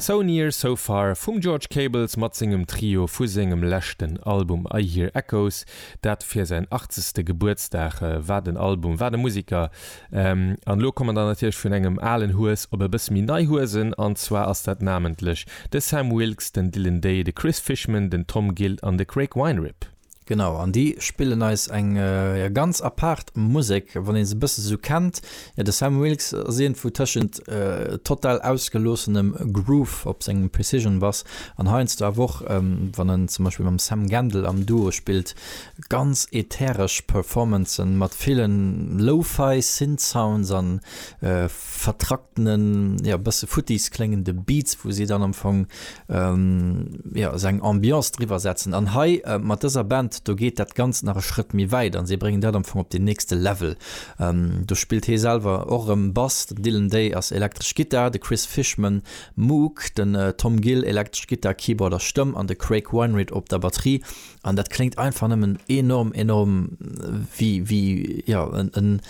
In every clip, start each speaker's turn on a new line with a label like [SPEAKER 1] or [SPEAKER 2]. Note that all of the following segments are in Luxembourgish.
[SPEAKER 1] So Near So Far vum George Cables mat sengem Trio vu sengem leschten Album I Hear Echoes, dat fir säin achtzegste Gebuertsdag. Wat en Album, wat e Musiker! An elo komme mer dann natierlech vun engem alen Hues op e bësse méi nei Huesen, an zwar ass dat namentlech de Sam Wilkes, den Dylan Day, de Chris Fishman, den Tom Gill an de Craig Weinrib.
[SPEAKER 2] Genau, an déi spillen eis eng jo ganz apaart Musek, wann ee se e bësse sou kennt. Jo, de Sam Wilkes ass iergendwou tëschent total ausgeloossenem Groove op sengem Precision Bass an heiansdo awer och, wann en zum Beispill mam Sam Gendel am Duo spillt, ganz ätheresch Performancen mat villen Lo-Fi Synth Sounds an vertracktenen, jo e bësse futtis kléngende Beats, wou si dann am Fong jo esou eng Ambiance driwwer setzen. An hei mat dëser Band, do geet dat Ganzt nach e Schrëtt méi wäit an si bréngen dat am Fong op den nächste Level. Do spillt hee selwer och erëm Bass, den Dylan Day ass elektresch Gittar, de Chris Fishman Moog, den Tom Gill elektresch Gittar, Keyboard a Stëmm an de Craig Weinrich op der Batterie. An dat kléngt einfach nëmmen enorm, enorm wéi, wéi, jo, en,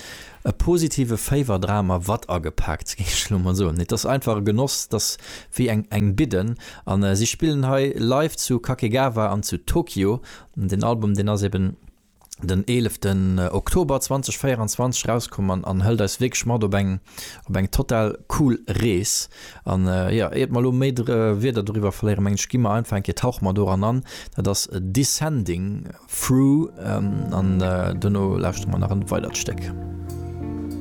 [SPEAKER 2] e positive Féiwerdram a Watt agepaakt, géif ech elo mol soen. Et ass einfach e Genoss, et ass wéi eng, eng Bidden. An si spillen hei live zu Kakegawa an zu Tokio. Den Album, deen ass eben den eeleften Oktober 2024 erauskomm an, an hëlt eis wierklech mat op eng, op eng total cool Rees. An jo, iert mer elo méi Wierder doriwwer verléieren, mengen ech, gi mer einfach eng Kéier, tauche mer doran an. Dat ass Descending Through an duerno lauschtere mer nach en weidert Stéck.